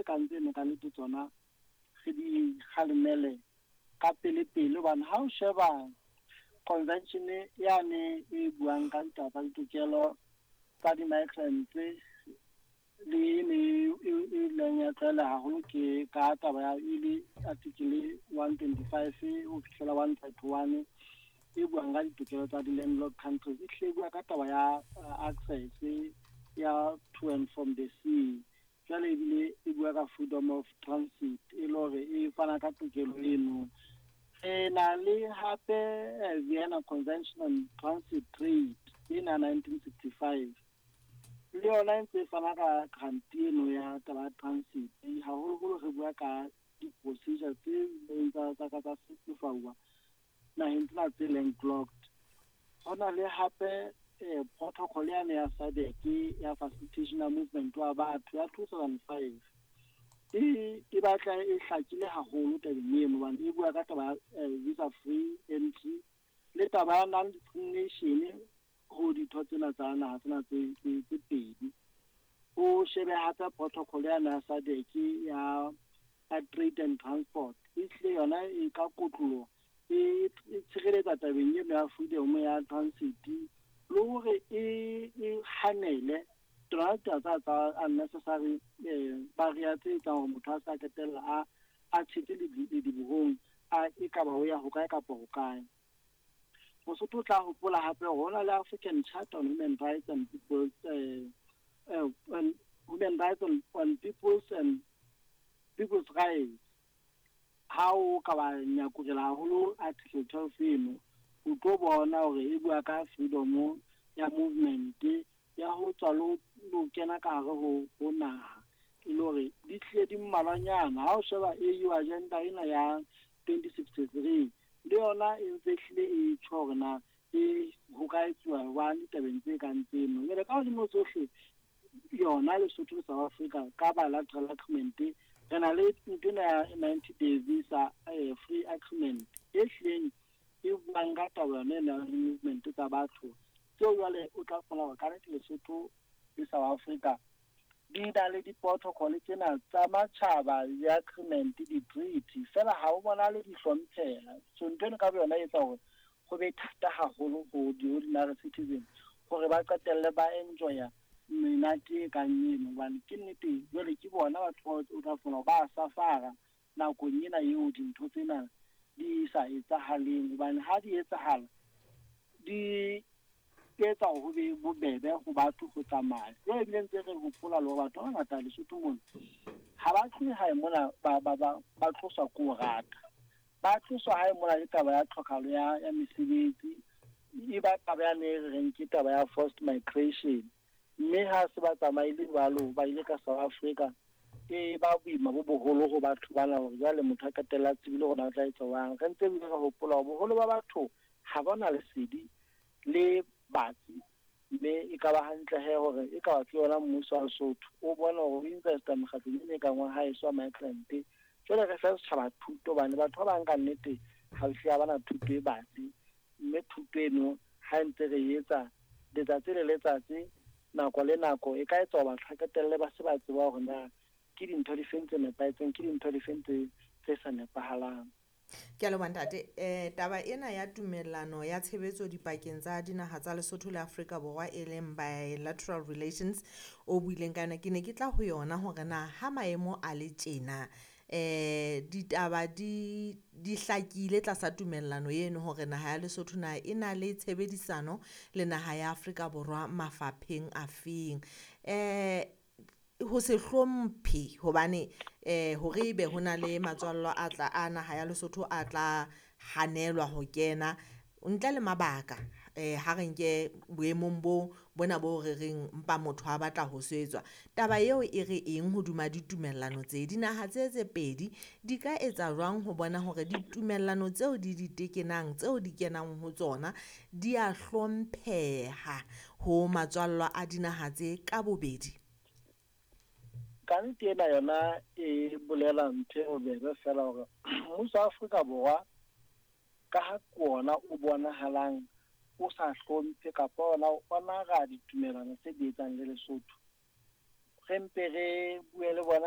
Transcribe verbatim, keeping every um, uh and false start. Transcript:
kang tseno ka nnete tsona re di kgalemele ka pele pele, hobane ha o sheba convention yane e buang ka ditaba tsa ditokelo tsa di-migrants le ne e ileng ya tlwaela haholo ke ka taba ya e le article one twenty-five ho fihlela one thirty one e buang ka ditokelo tsa di-landlocked countries. E hlile e bua ka taba ya access ya to and from the sea. Jwale ebile e bua ka freedom of transit, e le hore e fana ka tokelo eno. Re na le hape Vienna Convention on Transit Trade ena nineteen sixty-five, le yona e ntse e fana ka guarantee eno ya taba ya transit. Haholoholo re bua ka di-procedure tse ileng tsa tsa ka tsa simplify-uwa naheng tsena tse landlocked. Ho na le hape eh, protocol yane ya SADC ya facilitation ya movement wa batho ya two thousand five e e batla e hlakile haholo tabeng eno, hobane e bua ka taba ya visa free entry le taba ya non discrimination ho ditho tsena tsa naha tsena tse tse pedi. O shebe hape protocol yane ya SADC ya ya trade and transport, e hlile yona e ka kotloloho e tshireletsa tabeng eno ya freedom ya transit, le hore e e hanele tsona taba tsa tsa unnecessary barrier tse etsang hore motho a sa qetella a a tshetse ledibohong a e ka ba ho ya hokae kapa hokae. Mosotho o tla hopola hape hore ho na le African Charter on Human Rights and Peoples eh, eh, on Human Rights on, on Peoples and People's Rights. Ha o ka ba nyakurela haholo article twelve eno, o tlo bona hore e bua ka freedom ya movement ya ho tswa le ho kena ka hare ho ho naha, e le hore di hlile di mmalwanyana. Ha o sheba A U agenda ena ya twenty sixty-three le yona e ntse hlile e tjho hore na e ho ka etsuwa jwang ditabeng tse kang tseno. Jwale ka hodimo tsohle yona Lesotho le South Africa ka bilateral agreement re na le ntho ena ya ninety day visa eh, free agreement e hlileng e buang ka taba yona ena ya movement tsa batho tseo. Jwale o tla kgona hore ka nnete Lesotho le South Africa di na le di-protocol tsena tsa matjhaba, di-agreement, di-treaty, fela ha o bonahale di hlompheha. So ntho eno ka boyona e etsa hore ho be thata haholo ho di-ordinary citizen hore ba qetelle ba enjoya menate e kang eno, hobane ke nnete jwale ke bona batho bao o tla fumana hore ba safara nakong ena eo dintho tsena di sa etsahaleng, hobane ha di etsahala di etsa hore ho be bobebe ho batho ho tsamaya. Jwale ebile ntse re hopola le hore batho ba bangata Lesotho mona ha ba tlohe hae mona ba ba ba ba tloswa ke ho rata, ba tloswa hae mona le taba ya tlhokahalo ya ya mesebetsi, e ba taba yane e re reng ke taba ya forced migration. Mme ha se ba tsamaile jwalo ba ile ka South Africa, e ba boima bo boholo ho batho bana hore jwale motho a qetella a tsebile hore na o tla etsa jwang. Re ntse ebile re hopola hore boholo ba batho ha ba na lesedi le batsi, mme e ka ba hantle he hore e ka ba ke yona mmuso wa Lesotho o bone hore o investa mekgatlong e kang wa haeso wa migrant. Jwale re fe setjhaba thuto, hobane batho ba bang ka nnete ha hlile ha bana thuto e batsi, mme thuto eno ha ntse re etsa letsatsi le letsatsi nako le nako e ka etsa hore batho ba qetelle ba se ba tseba hore na ke dintho di feng tse nepahetseng, ke dintho di feng tse tse sa nepahalang. Ke a leboha ntate. Eh, taba ena ya tumellano ya tshebetso dipakeng tsa dinaha tsa Lesotho le Afrika Borwa e leng bilateral relations o buileng ka yona, ke ne ke tla ho yona hore na ha maemo a le tjena eh ditaba di di hlakile tlasa tumellano eno hore naha ya Lesotho na e na le tshebedisano le naha ya Afrika Borwa mafapheng afeng. Eh ho se hlomphe hobane eh hore ebe ho na le matswallo a tla a naha ya Lesotho a tla hanelwa ho kena ntle le mabaka eh ha re nke boemong bo bona bo re reng mpa motho a batla ho swetswa. Taba eo e re eng hodima ditumellano tse? Dinaha tse tse pedi di ka etsa jwang ho bona hore ditumellano tseo di di tekenang tseo di kenang ho tsona di a hlompheha ho matswallo a dinaha tse ka bobedi? Ka nnete ena yona e bolela ntho e bobebe fela hore mmuso wa Afrika Borwa ka ha ke ona o bonahalang o sa hlomphe kapa ona o honora ditumellano tse di etsang le Lesotho, re mpe re bue le bona